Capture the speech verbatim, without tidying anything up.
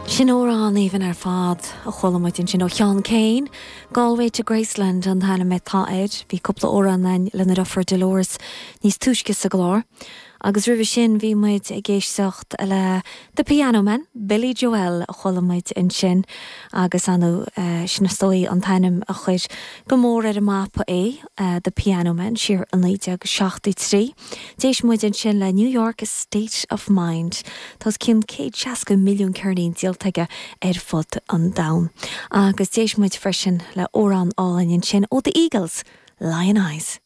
Sin amhrán aoibhinn ar fad a chuala muid ansin ó Sheán Keane, Galway to Graceland an t-ainm atá air, bhí cúpla amhrán againn lena deirfiúr Dolores níos túisce sa gclár. Agus roimhe sin bhí muid ag éisteacht le The Piano Man, Billy Joel a chuala muid ansin agus anu uh, sin is dóigh an t-ainm a chuir go mór ar an mapa é uh, The Piano Man siar i naoi déag seachtó trí. D'éist muid ansin le New York State of Mind. Tá cionn céad seasca milliún ceirnín díolta aige ar fud an domhain. Agus d'éist muid freisin le amhrán álainn ansin ó The Eagles, Lyin' Eyes.